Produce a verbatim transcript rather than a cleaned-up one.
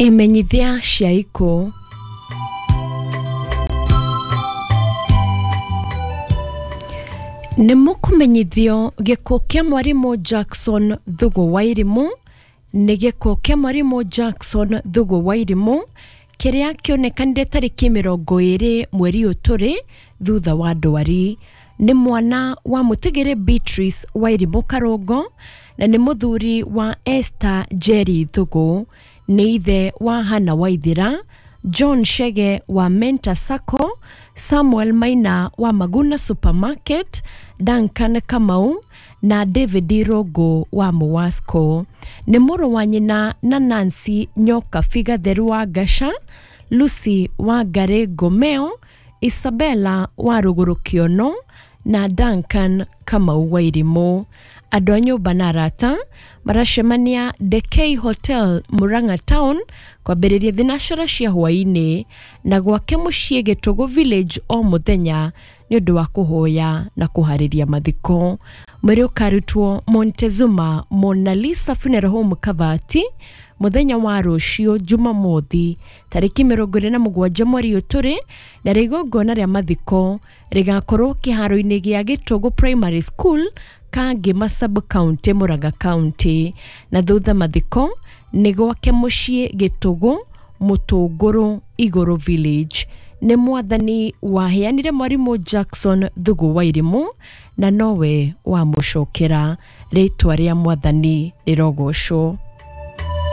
Imenyithia cia ikuũ. Nĩ mũkũmenyithio gĩkuũ kĩa mwarimũ Jackson Thugu Wairimu nĩ gĩkuũ kĩa mwarimũ Jackson Thugu Wairimu kĩrĩa kĩonekanire tarĩki mĩrongo ĩrĩ mweri ũyũ tũrĩ thutha wa ndwari. Nĩ mwana wa mũtigĩrĩ Beatrice Wairimu Karũngo na nĩ mũthuri wa Esther Njeri Thugu. Nĩ ithe wa Hannah Waithira, John Chege wa Mentor Sacco, Samuel Maina wa Maguna Supermarket, Duncan Kamau na David Irũngũ wa Muwasco. Nĩ mũrũ wa nyina na Nancy Nyokabi Gatheru wa Ngaca, Lucy Wangarĩ Ngomeo, Isabella wa Rũgũrũ Kĩono na Duncan Kamau Wairimu. Andũ a nyũmba na arata maracemania Dekei Hotel Murang'a Town kwambĩrĩria thinacara cia hwaĩ-inĩ na gwake mũciĩ Gĩtũgũ Village o mũthenya nĩ ũndũ wa kũhoya na kũharĩria mathiko. Mwĩrĩ ũkarutwo Montezuma Mona Lisa Funeral Home Kavati mũthenya wa rũciũ Jumamothi tarĩki mĩrongo ĩrĩ na mũgwanja mweri ũyũ tũrĩ, na igongona rĩa mathiko rĩgakorwo kĩharo-inĩ gĩa Gĩtũgũ Primary School, Kangema Sub County, Murang'a County. Na thutha mathiko nĩ gwake mũciĩ Gĩtũgũ Mũtũngũrũ Igũrũ Village. Nĩ mwathani waheanire mwarimũ Jackson Thugu Wairimu na nowe wamũcokera. Rĩtwa rĩa mwathani rĩrogocwo.